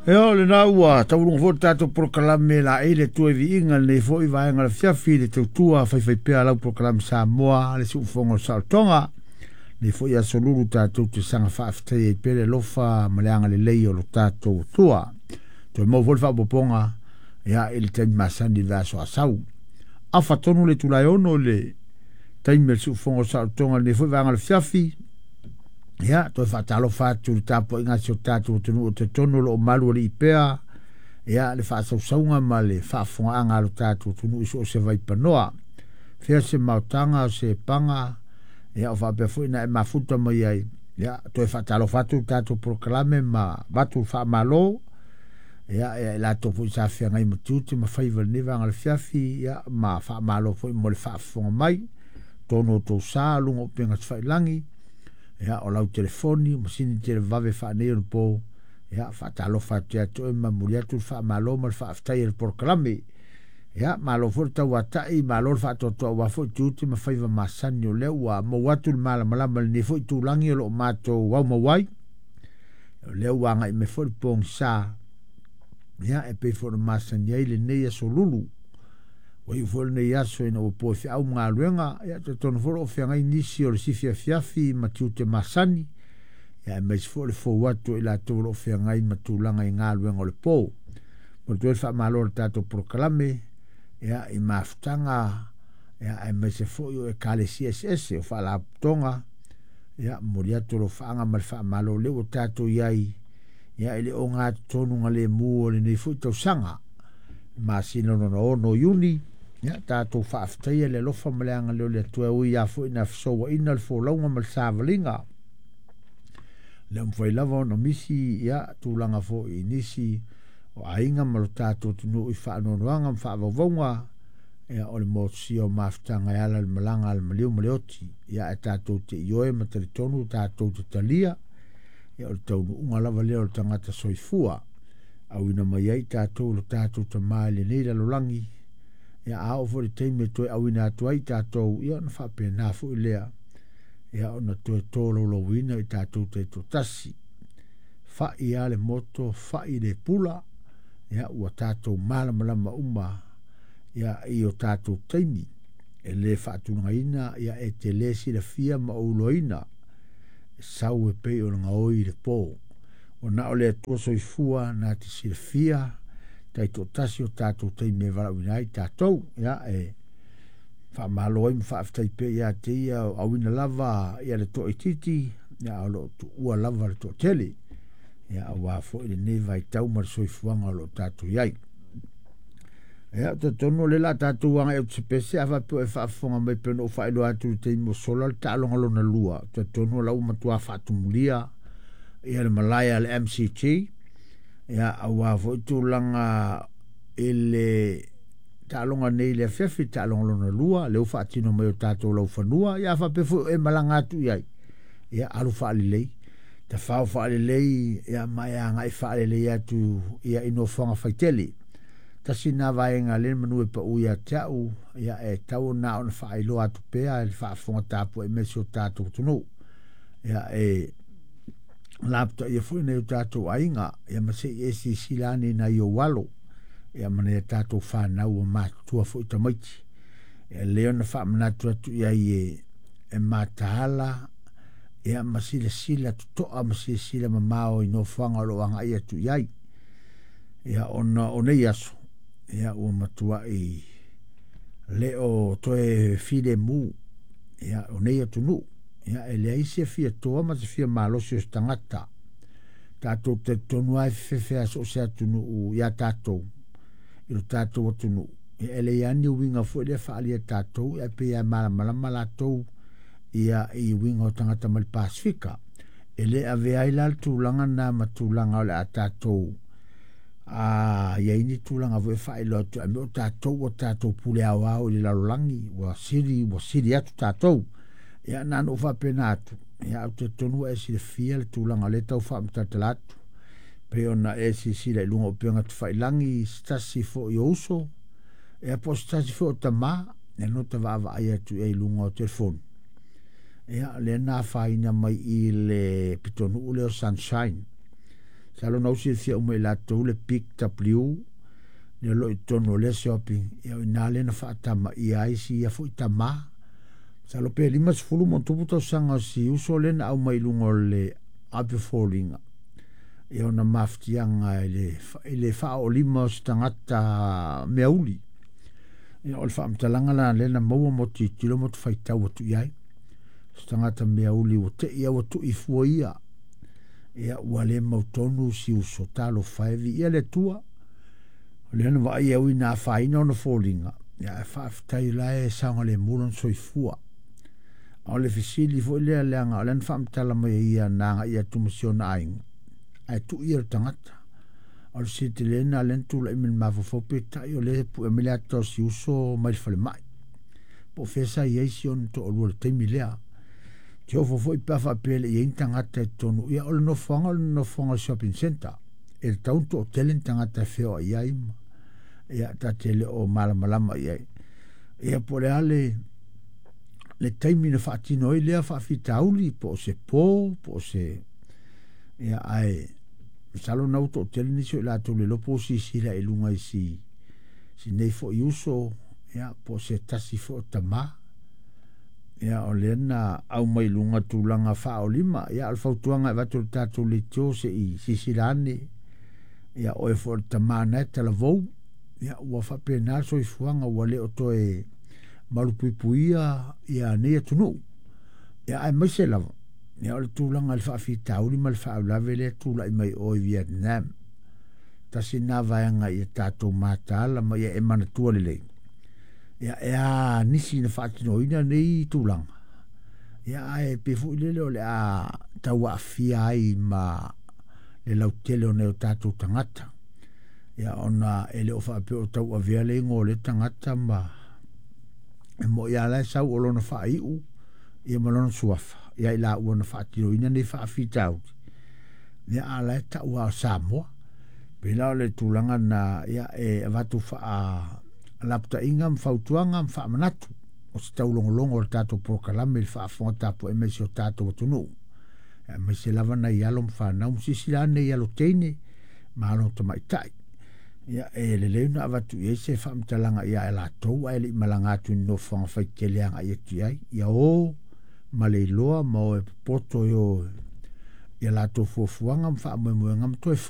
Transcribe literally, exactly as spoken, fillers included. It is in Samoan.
Ea o lena ua tauluga foi le tatou polokalame laei le Atua i viiga lenei foi vaega o le afiafi i le tautua faifaipea lau polokalame Samoa le siufofoga o le saolotoga. Lenei foi aso lulu tatou te saga faafetaia ai pea le alofa ma le agalelei o lo tatou Atua. Toe maua foi le faaopoopoga ia i le taimi masani i le vaiaso a sau. Afa tonu le itula e ono i le taimi o le siufofoga o le saolotoga lenei foi vaega o le afiafi. Ia, toe faatalofa atu i le tapuaiga a si o tatou atunuu o talitonu o lo o malualii pea ia le faasausauga ma le faafofogaaga a lo tatou atunuu i so o se vaipanoa. Fea se maotaga o se paga, ia o faapea foi na e mafuta mai ai. Ia, toe faatalofa atu le tatou polokalame ma avatu le faamalo. Ia, ia i latou foi sa feagai ma tiute ma faiva i lenei vaega o le afiafi, ia, ma faamalo foi mo le faafofoga mai. Tonu o tou sa, luga o upega tafailagi, ia o lau telefoni, masini televave faaneionapo, ia faatalofa atu ia te oe ma momoli atu le faamalo ma le faafetai a le polokalame. Ia malo foi le tauatai, malo le faatoatoa aua foi tiute ma faiva masani o lea ua maua atu le malamalama i lenei foi itulagi o lo o matou aumau ai. O lea ua agai mai foi le pogisa, ia e pei foi ona masani ai lenei aso lulu. Ua iu foi lenei aso ina ua po e feau ma galuega, ia talitonu foi o lo o feagai nisi o le sifi afiafi ma tiute masani, ia aemaise foi o le fou atu o i latou o lo o feagai ma tulaga i galuega o le po. Momoli atu ai le faamalo a le tatou polokalame, ia i mafutaga, ia aemaise foi o ekalesia eseese, o faalapotopotoga, ia momoli atu alofaaga ma le faamalo o lea ua tatou i ai, ia i le ogatotonu galemu o lenei foi tausaga. Masina lona ono o Iuni, ia tatou faafetaia le alofa ma le agalelei o le Atua e ui lava foi ina fesouaina le folauga ma le savaliga. Le mafai lava ona misi ia tulaga foi i nisi o aiga ma lo tatou atunuu i faanoanoaga ma faavauvauga, ia o le motusia o mafutaga e ala i le malaga a le maliu ma le oti. Ia ae tatou te ioe ma talitonu tatou te talia, ia o le taunuuga lava lea o le tagata soifua. Auina mai ai tatou lo tatou tama i lenei lalolagi, ia a oo foi i le taimi e toe auina atu ai tatou, ia ona faapena foi lea, ia ona toe tolaulauina i tatou taitoatasi. Fa'i lava le moto, fa'i le pula, ia ua tatou malamalama uma ia i o tatou taimi e le faatulagaina, ia e te le silafia ma ou iloaina e sau e pei o le gaoi i le po. Ua na o le Atua soifua na te silafia taitoatasi o tatou taimi e valaauina ai tatou. Ia e faamalo ai ma faafetai pea ia te ia o auina lava ia le toaitiiti, ia o lo o tuua lava le toatele, ia aua foi lenei vaitau ma le soifuaga o lo o tatou i ai. Ia, ou te talitonu o lea o le a tatou agai atu i se pese, a faapea o e faafofoga mai pei ona ou faailoa atu i le taimi ua sola le taaloga lona lua. Ou te talitonu o la ua matua faatumulia ia le malae a le M C G, ia aua foi tulaga i le taaloga nei i le afiafi, taaloga lona lua, lea ua faatino mai o tatou laufanua, ia a faapea foi o e malaga atu i ai, ia alu faalelei, tafao faalelei, ia ma e agai faalelei atu ia i nofoaga faitele. Tasi na vaega lea manu e pau ia te au, ia e tau na ona faailoa atu pea le faafofoga tapuai mai si o tatou atunuu. Ia e laputaia foi nai o tatou aiga, ia ma se i e silasila ane i nai ou alo, ia ma nai a tatou fanau ua matutua foi tamaiti. Ia lea ona faamanatu atu i ai e, e mataala, ia ma silasila totoa ma silasila mamao i nofoaga o lo o agai atu i ai. Ia ona o nei aso, ia ua matuai le o toe filemu, ia o nei atunuu, ia e leai se fia toa ma se fia malosi o se tagata. Tatou talitonu lava e fefefe lava so o se atunuu ia tatou, i lo tatou atunuu. Ia e leai lava ni uiga foi lea faaalia e tatou, ia pei lava e malamalama latou ia i uiga o tagata mai le Pasifika. E le avea ai la le tulaga na ma tulaga o le a tatou a i ai ni tulaga foi e faailoa atu ai, o tatou ua tatou pule aoao i le lalolagi, ua sili, ua sili atu tatou. Ia na ona ou faapena atu, ia ou te talitonu ua e silafia le tulaga o lea e tau faamatalatala atu. Pei ona e silasila i luga o upega tafailagi, se tasi foi o uso, ia po o se tasi foi o tamā, ia no ta vaavaai atu i ai i luga o telefoni. Ia lea na afaina mai i le pitonuu lea o Sunshine. Masalo na ou silafia uma e i latou le Big W le o loo i totonu o lea shopping. Ia o iná lea na faatamaia ai si ia foi tamā. Masalo pe limasefulu ma ona tupu tausaga o si uso lea na aumai i luga o le ape foliga ia ona mafatiaga i le i le faaoolima o se tagata meauli. Ia o le faamatalaga la lea na maua mo tilotilo ma faitau atu i ai. Se tagata meauli ua tei ua tuifua ia. Ia ua le mautonu si uso talofa e viia le Atua. O lea na vaai au ina afaina ona foliga. Ia ae faafetai la e saogalemu lona soifua. A o le fesili foi lea leaga o lea na faamatala mai e ia na agai atu ma si ona aiga ae tuu ia le tagata. O le sitilena lea na tulai mai le mafaufau peitai o lea e pue mai le ata o si uso mai le falemai. Po o fea sa i ai si ona toalua i le taimi lea. Te ofo foi pe a faapea e le i ai ni tagata i totonu. Ia o le nofoaga o le nofoaga o le shopping centre. E tatau ona toatele ni tagata e feoai ai ma ia ta te le o malamalama i ai. Ia po o le a le le taimi na faatino ai lea faafitauli po o se po po o se ia ae masalo na ua toatele nisi o i latou le iloa po o silasila i luga i si si nei foi uso ia po o se tasi foi o tamā. Ia o lea na aumai i luga tulaga faaolima. Ia o le fautuaga e avatu i le tatou leitio se i silasila ane. Ia oe foi o le tamā na e talavou. Ia ua faapena le soifuaga ua le o toe malupuipuia ia nei atunuu. Ia aemaise lava ia o le tulaga i le faafitauli ma le faalavelave lea e tulai mai o i Vietnam. Tasi lena vaega ia tatou mataala ma ia e manatua lelei. Ia e a nisi na faatinoina nei tulaga. Ia ae pei foi lele o le a tau aafia ai ma le lautele o nai o tatou tagata. Ia ona e le o faapea o tau avea le igoa o lea tagata ma e moi lava la e sau o lona faaiu ia ma lona suafa ia i laua na faatinoina nei faafitauli. Ia a o la e tau lava o Samoa. Pei la o le tulaga na ia e avatu faalapataiga ma fautuaga ma faamanatu o se taulogologo o le tatou polokalame i le faafofoga tapuai mai si o tatou atunuu. Aemaise lava nai alo ma fanau ma silasila ane i alo teine ma alo tamaitai. Ia e lelei ona avatu i ai se faamatalaga ia i latou ae le i malaga atu i nofoaga faitele agai atu i ai. Ia o ma le iloa ma o e popoto e o ia latou fuafuaga ma faamoemoega ma toe foi